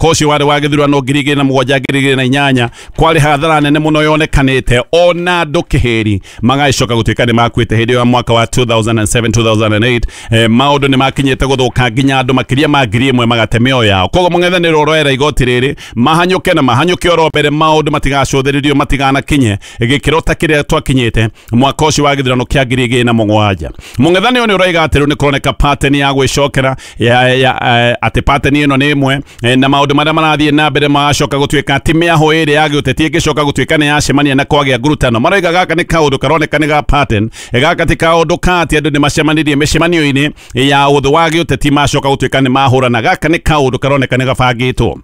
Mwaka ũcio warĩ wa gĩthurano 2007 2008 kwarĩ hathara nene mũno yonekanĩte ona andũ kĩhĩri magagĩcoka gũtuĩka nĩ makuĩte hĩndĩ ya mwaka wa 2007 2008. Maũndũ nĩ makinyĩte gũthũka nginya andũ makĩria ma 1000 magate mĩoyo yao. Koguo mũng'ethanĩro ũroera igoti rĩrĩ mahanyũke na mahanyũke oro mbere, maũndũ matigacũthĩrĩrio matiganakinye gĩkĩro ta kĩrĩa twakinyĩte mwaka ũcio wa gĩthurano kĩa 2007. Mũng'ethanĩro nĩ ũroiga atĩ rĩu nĩ kũroneka pattern ya gwĩcokera atĩ pattern ĩno nĩ ĩmwe, na maũndũ marĩa marathiĩ na mbere magacoka gũtuĩka ti mĩahũ ĩrĩa ya gĩũteti ĩngĩcoka gũtuĩka nĩ yacemania na kwagĩa ngurutano. Maroiga gaka nĩ kaũndũ karoneka nĩ ga pattern, gaka ti kaũndũ ka atĩ andũ nĩ macemanirie mĩcemanio-inĩ ya ũthũ wa gĩũteti macoka gũtuĩka nĩ mahũrana. Gaka nĩ kaũndũ karoneka nĩ gabangĩtwo.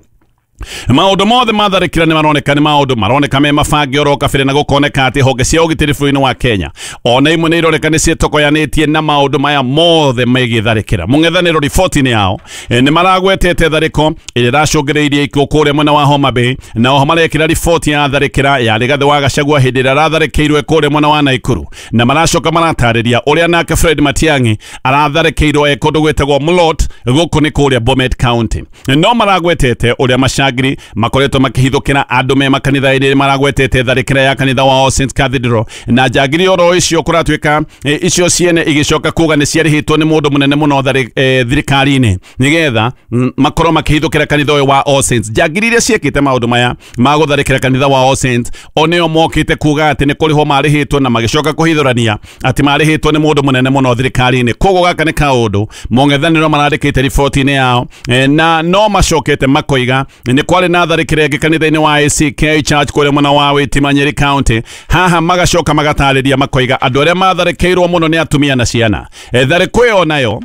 Maũndũ mothe matharĩkĩra nĩ maroneka nĩ maũndũ maroneka me mabange oro kabere, na gũkoneka atĩ honge cia ũgitĩri bũrũri-inĩ wa Kenya ona imwe nĩ ironeka nĩ ciĩtokoyanĩtie na maũndũ maya mothe megiĩ tharĩkĩra. Mũng'ethanĩro riboti-inĩ yao nĩ maragwetete tharĩko ĩrĩa ĩracũngĩrĩirie ikuũ kũrĩa mwena wa Homa Bay, na oho marekĩra riboti ya tharĩkĩra ya Rigathĩ wa Gachagua hĩndĩ ĩrĩa aratharĩkĩirwo kũrĩa mwena wa Naikuru, na maracoka maratarĩria ũrĩa nake Fred Matiang'i aratharĩkĩirwo e kũndũ gwĩtagwo Mlot gũkũ nĩ kũrĩa Bomet County. No maragwetete ũrĩa macangiri makoretwo makĩhithũkĩra andũ me makanitha-inĩ, maragwetete tharĩkĩra ya kanitha wa All Saints Cathedral, na njangiri oro icio kũratuĩka icio ciene igĩcoka kuga nĩ ciarĩhĩtwo nĩ mũndũ mũnene mũno thirikari-inĩ nĩgetha makorwo makĩhithũkĩra kanitha ũyũ wa All Saints. Njangiri iria ciĩkĩte maũndũ maya ma gũtharĩkĩra kanitha wa All Saints o nĩo mokĩte kuga atĩ nĩ kũrĩhwo marĩhĩtwo, na magĩcoka kũhithũrania atĩ marĩhĩtwo nĩ mũndũ mũnene mũno thirikari-inĩ. Koguo gaka nĩ kaũndũ mũng'ethanĩro marandĩkĩte riboti-inĩ yao, na no macokete makoiga nĩ kwarĩ na tharĩkĩra ĩngĩ kanitha-inĩ wa ACK Church kũrĩa mwena wa Witima Nyeri County. Haha magacoka magatarĩria makoiga andũ arĩa matharĩkĩirwo mũno nĩ atumia na ciana. Tharĩko ĩyo nayo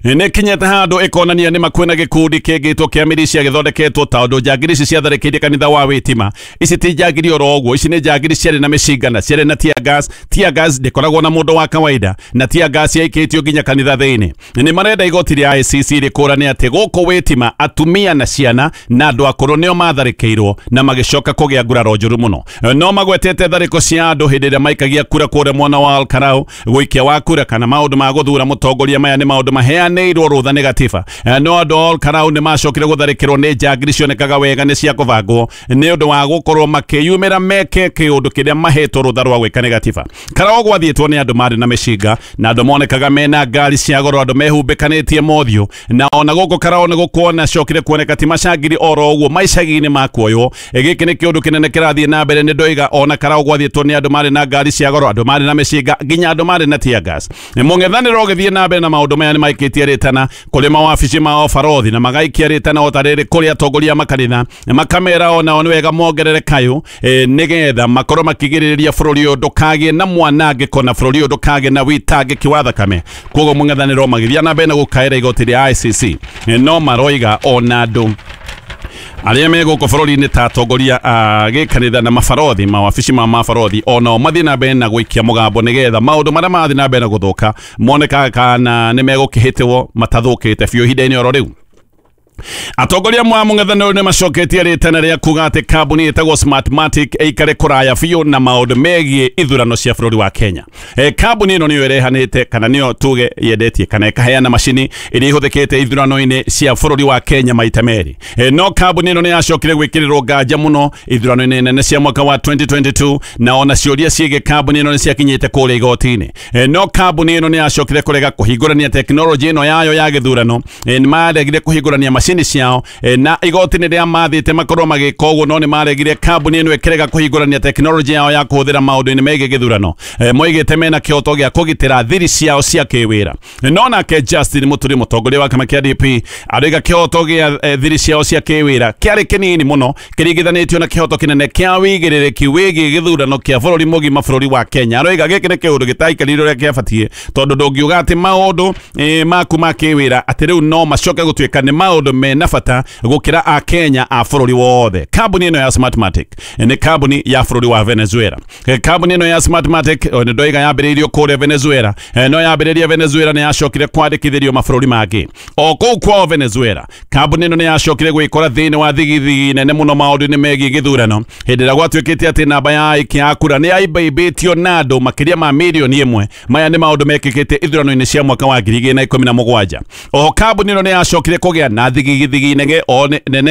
nĩ kinyĩte handũ ĩkonania nĩ makwĩna gĩkundi kĩngĩtwo kĩa militia gĩthondeketwo tondũ njangiri ici ciatharĩkĩire kanitha wa Witima. Ici ti njangiri oro ũguo, ici nĩ njangiri ciarĩ na mĩcinga na ciarĩ na tear gas. Tear gas ndĩkoragwo na mũndũ wa kawaida, na tear gas yaikĩtio nginya kanitha thĩinĩ. Nĩ marenda igoti rĩa ICC rĩkũrane atĩ gũkũ Witima atumia na ciana na andũ akũrũ nĩo matharĩkĩirwo na magĩcoka kũgĩa nguraro njũru mũno. No magwetete tharĩko cia andũ hĩndĩ ĩrĩa maikagia kura kũrĩa mwena wa Olkarau gũikia wa kura kana maũndũ ma gũthura mũtongoria. Maya nĩ maũndũ maheanĩirwo rũtha nĩ gatiba. No andũ a Olkarau nĩ macokire gũtharĩkĩrwo nĩ njangiri cionekaga wega nĩ cia kũbangwo nĩ ũndũ wa gũkorwo makĩyumĩra meke kĩũndũ kĩrĩa mahetwo rũtha rwa gwĩka nĩ gatiba. Karau gwathiĩtwo nĩ andũ marĩ na mĩcinga na andũ monekaga mena ngari cia goro, andũ mehumbĩkanĩtie mothiũ, na ona gũkũ Karau nĩ gũkuona cokire kuoneka ti macangiri oro ũguo maicagi-inĩ makuoywo. Gĩkĩ nĩ kĩũndũ kĩnene kĩrathiĩ na mbere. Nĩ ndoiga ona Karau gwathiĩtwo nĩ andũ marĩ na ngari cia goro, andũ marĩ na mĩcinga, nginya andũ marĩ na tear gas. Mũng'ethanĩro ũgĩthiĩ na mbere na maũndũ maya nĩ maikĩtie rĩtana kũrĩ mawabici ma ũbarothi, na magaikia rĩtana o ta rĩrĩ kũrĩ atongoria a makanitha, makamera onao nĩ wega mongerere kayũ, nĩgetha makorwo makĩgirĩrĩria bũrũri ũyũ ndũkagĩe na mwanangĩko na bũrũri ũyũ ndũkagĩe na wĩtangĩki wa thakame. Koguo mũng'ethanĩro magĩthiĩ na mbere na gũkaĩra igoti rĩa ICC, no maroiga ona andũ arĩa me gũkũ bũrũri-inĩ ta atongoria a gĩkanitha na mabarothi, mawabici ma mabarothi onao mathiĩ na mbere na gũikia mũgambo nĩgetha maũndũ marĩa marathiĩ na mbere na gũthũka monekaga kana nĩ megũkĩhĩtĩrwo matathũkĩte biũ ihinda-inĩ oro rĩu. Atongoria mwa mũng'ethanĩro nĩ macoketie rĩtana rĩa kuga atĩ kambuni ĩtagwo Smartmatic ĩikare kũraya biũ na maũndũ megiĩ ithurano cia bũrũri wa Kenya. Kambuni ĩno nĩyo ĩrehanĩte kana nĩyo tuge yendetie kana ĩkaheana macini ĩrĩa ĩhũthĩkĩte ithurano-inĩ cia bũrũri wa Kenya maita merĩ. No kambuni ĩno nĩ yacokire gwĩkĩrĩrwo nganja mũno ithurano-inĩ nene cia mwaka wa 2022, na ona ciũria ciĩgiĩ kambuni ĩno nĩ ciakinyĩte kũrĩa igoti-inĩ. No kambuni ĩno nĩ yacokire kũrega kũhingũrania tekinoronjĩ ĩno yayo ya gĩthurano. Nĩ maregire kũhingũrania macini ciao, na igoti nĩ rĩa mathĩte makorwo magĩka ũguo, no nĩ maregire kambuni ĩno ĩkĩrega kũhingũrania tekinoronjĩ yao ya kũhũthĩra maũndũ-inĩ megiĩ gĩthurano. Moigĩte mena kĩhoto gĩa kũgitĩra thiri ciao cia kĩwĩra. No nake Justin Muturi, mũtongoria wa kĩama kĩa DP, arauga kĩhoto gĩa thiri ciao cia kĩwĩra kĩarĩ kĩnini mũno kĩringithanĩtio na kĩhoto kĩnene kĩa wĩigĩrĩrĩki wĩgiĩ gĩthurano kĩa bũrũri mũgima bũrũri wa Kenya. Aroiga gĩkĩ nĩ kĩũndũ gĩtaikarire ũrĩa kĩabatiĩ, tondũ ndũngiuga atĩ maũndũ maku ma kĩwĩra atĩ rĩu no macoke gũtuĩka nĩ maũndũ mena bata gũkĩra a Kenya a bũrũri wothe. Kambuni ĩno ya Smartmatic nĩ kambuni ya bũrũri wa Venezuela. Kambuni ĩno ya Smartmatic nĩ ndoiga yambĩrĩirio kũrĩa Venezuela, no yambĩrĩria Venezuela nĩ yacokire kwandĩkithĩrio mabũrũri mangĩ. O kũu kwao Venezuela, kambuni ĩno nĩ yacokire gwĩkora thĩinĩ wa thigithigi nene mũno maũndũ-inĩ megiĩ gĩthurano hĩndĩ ĩrĩa gwatuĩkĩte atĩ namba ya aikia a kura nĩ yaimbaimbĩtio na andũ makĩria ma 1 million. Maya nĩ maũndũ mekĩkĩte ithurano-inĩ cia mwaka wa 2017. Oho kambuni ĩno nĩ yacokire kũgĩa na thigithigi nene.